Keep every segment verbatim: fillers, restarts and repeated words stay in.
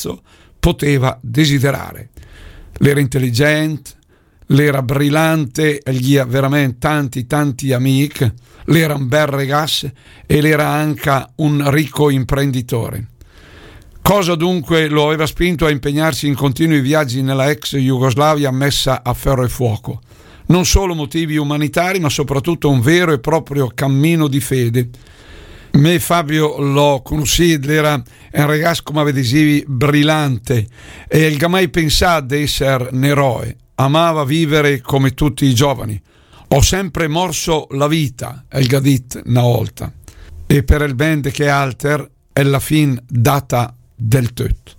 gatto poteva desiderare. L'era intelligente, l'era brillante, el ghia veramente tanti, tanti amic, l'era un bel regas e l'era anca un ricco imprenditore. Cosa dunque lo aveva spinto a impegnarsi in continui viaggi nella ex Jugoslavia messa a ferro e fuoco? Non solo motivi umanitari, ma soprattutto un vero e proprio cammino di fede. Me Fabio l'ho conosciuto, era un ragazzo, come ve dicevi, brillante, e el ga mai pensato di essere un eroe. Amava vivere come tutti i giovani. Ho sempre morso la vita, el ga dit una volta. E per el ben de che alter, è la fin data del tot.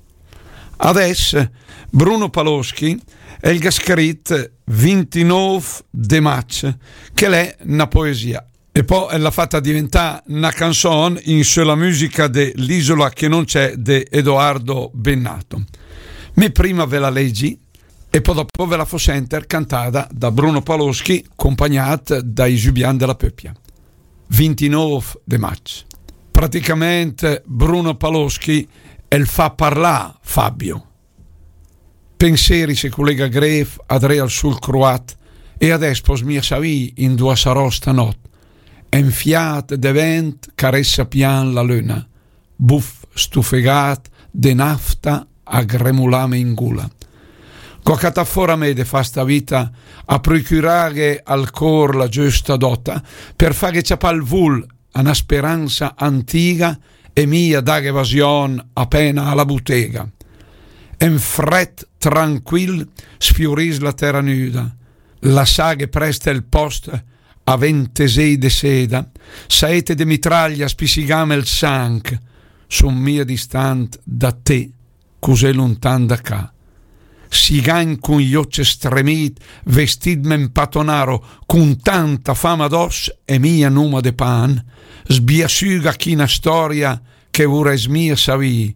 Adess, Bruno Paloschi el ga scrit vintinov de maig, che l'è una poesia. E poi l'ha fatta diventare una canzone in sulla musica dell'Isola che non c'è de Edoardo Bennato. Me prima ve la leggi e poi dopo ve la fo senter cantada da Bruno Paloschi, accompagnat dai Giubian della Peppia. Vintinov de maig. Praticamente Bruno Paloschi el fa parlà Fabio. Penseri se collega gref adrè al sul croat e adess pos mia savì in dua sarò stanot. En fiat de vent caressa pian la luna, buf stufegat de nafta a gremulame in gula. Go catà fora me de fa sta vita a procuraghe al cor la giusta dota per faghe ciapà il vul a una speranza antiga e mia daghe vasion appena alla bottega. En fred tranquil sfiorìs la terra nuda, lassaghe prest el post a ventesei de seda, saete de mitraglia spisigame el sanc, son mia distant da te, cusè luntan da ca. Sigagn cun i oce stremit, vestitme en patonaro, cun tanta fama adoss e mia numa de pan, sbiasüga chi na storia che vuress mia savì,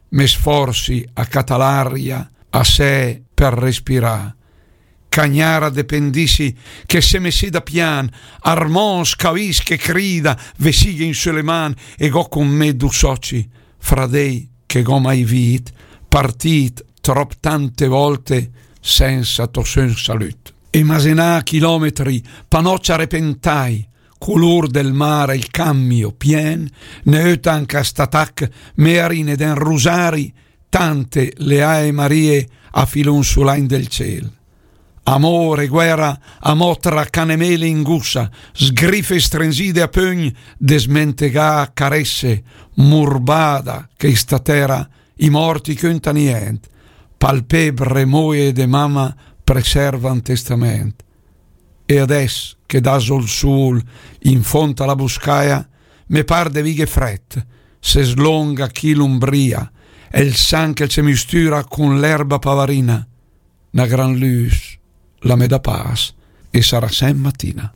me sforsi a catà l'aria a se per respirà. Cagnara de pendissi che se me seda pian, Armon scavis che crida, ve sighe in su le man e go con me du soci, fradei che go mai vit, partit trop tante volte senza to sön salüt. E masenà chilometri, panocia repentai, color del mare il cambio pien, ne öta anca st'atac, me arine den rosari, tante le Ae Marie a filon sulagn del ciel. Amor e guerra, amò tra canemele in gussa, sgrife strenzide a pögn, desmentegà caresse, murbada che sta terra i morti cönta nient, palpebre moe de mama preservan testament. E adess che dà zó il sul in font a la buscaia, me par de vighe fret, se slonga chi l'umbria, e il sanc el se mistura cun l'erba pavarina, na gran lüs la me dà pas e sarà sem matina.